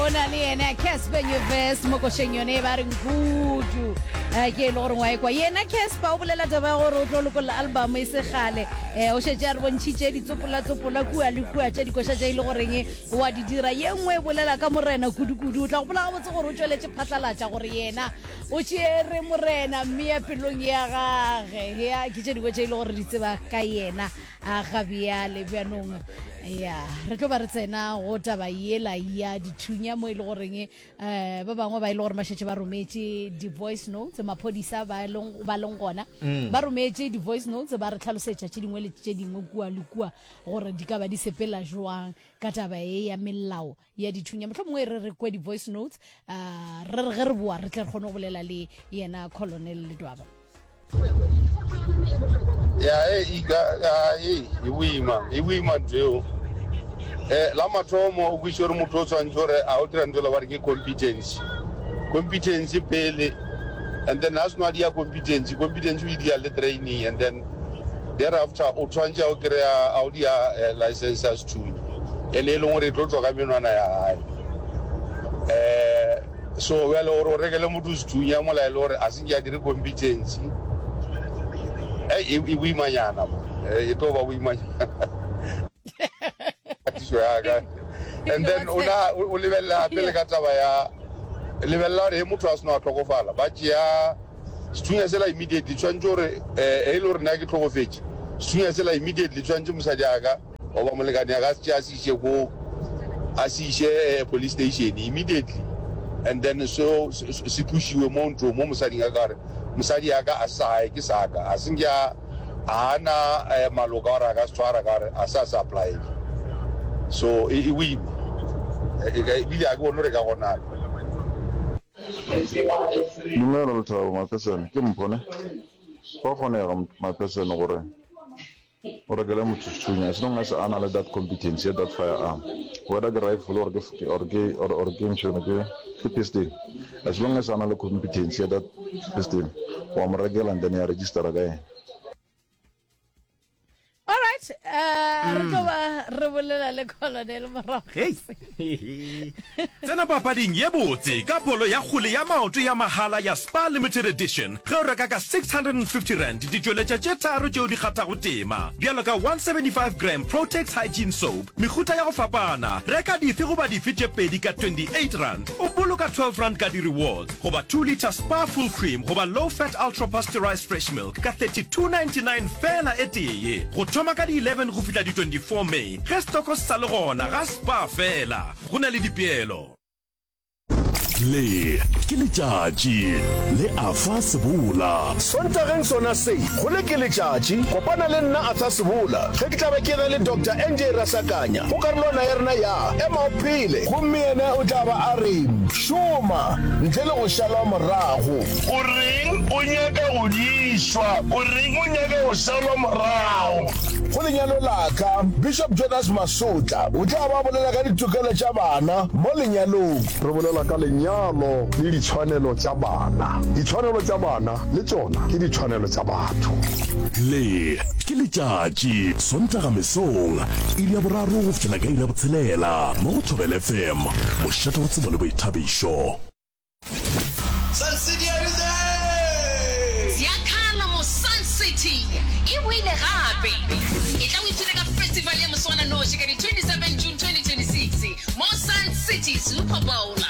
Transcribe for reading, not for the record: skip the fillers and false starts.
O na le yena Casper Nyovest mo košeng yone e ba reng kudu. Eh, ke e le gore wa ekwa yena Casper o bolela taba ya gore o tlo lokolla album e se kgale. Eh, o šetše a re bontšhitše ditsopolatsopola kua le kua tša dikoša tše e le goreng wa di dira. Ye nngwe e bolela ka morena kudu-kudu. O tla gopola gabotse gore o tšweletše phatlalatša gore yena o tšeere morena mme ya pelong ya gage. Ya ke tše dingwe tše e le gore di tseba ka yena. A ga bjale bjanong ya re tlo ba re tsena go taba yela ya dithunya mo e le goreng um ba bangwe ba e le gore ba šetše ba rometše di-voice notes maphodisa ba leng ba leng gona mm. ba rometše di-voice notes ba re tlhalosetša tše dingwe le tše dingwe kua le kua gore di ka ba di sepela jwang ka taba e ya melao ya dithunya motlho mongwe re re kwe di-voice notes uh, re re ge re boa re tle re kgone go bolela le yena colonel ledwaba ya e ika ya e e boima e boima ntho eo eh la mathomo o kwiše gore motho o tshwanetse gore a o dira ntho le ba re ke competence competence pele and then a seno a dia competence competence o e dia le training and then Thereafter o tshwanetse a o kry-a a o dia eh, license ya sethunya ene e leng gore e tlo tswa ka menwana ya gae um so bjale gore o rekele motho sethunya mola e le gore a se ke a dire competency e e boimanyana mo e tlo ba boimanyana katiso ya ka and then o na o lebelela gape le ka taba ya lebelela gore he motho a seno a tlhokofala ba tšea Sethunya sela immediately tshwanetse gore eh e le gore nna ke tlhokofetše, sethunya sela immediately tshwanetse mosadi a ka goba molekane ya ka a se tšee a se iše ko a se iše eh, police station immediately and then so se tlošiwe mo ntlong mo mosading a ka gore mosadi ya ka a se sa gae ke sa ka a se nke a a na eh, maloka gore a ka se tshwara ka gore a se a se applyele so e e boima ebile a ke bone gore e ka gonala. Dumela Lethabo Maphesene, ke Mpho ne? Go a kgonega Maphesene gore o rekele motho sethunya as long as a na le that competence ya that firearm whether ke rifle or ke or ke or or ke ntšhone ke ke pistol as long as a na le competence ya that pistol wa mo rekela and then ya registera ka yena. All right, uh, re tlo ba re bolela le colonel morago. Hei. Tsena papading ye botse ka bolo ya kgole ya maoto ya mahala ya Spar Limited Edition ge o reka ka R650 ditšweletša tše tharo tšeo di kgathago tema bjalo ka 175 gram Protex Hygiene Soap mehuta ya go fapana. Reka dife goba dife tše pedi ka R28 o boloka R12 ka di-rewards goba 2 litre Spar Full Cream goba Low Fat Ultra Pasteurized Fresh Milk ka 32.99 feela e tee, go thoma ka di 11 go fihla di 24 May, ge setoko se sa le gona ga Spar feela. Go na le dipeelo. Le ke letšatši le Arthur Sebola. Sontageng sona se, go le ke letšatši, kopana le nna Arthur Sebola ge ke tla be ke na le Doctor NJ Rasakanya go karolwana ya rena ya Ema o Phele. Gomme yena o tla ba a re, Šoma ntle le go šalwa morago. O reng o nyaka go dišwa? O reng o nyaka go šalwa morago? Go lenyalo la ka, Bishop Jonas Masotla o tla ba a bolela ka ditokelo tša bana mo lenyalong. Re bolela ka lenyalo le ditshwanelo tša bana. Ditshwanelo tša bana le tšona ke ditshwanelo tša batho. Le ke letšatši, Sontaga mesong, iri ya boraro go fihlela ka iri ya botshelela, mo go Thobela FM, mošate wa tsebo le boithabišo. Sun City are you there? Ziakhala mo Sun City e boile gape. Etla o ipshine ka festival ya moswananoši ka di 27 June 2026 mo Sun City Super Bowl.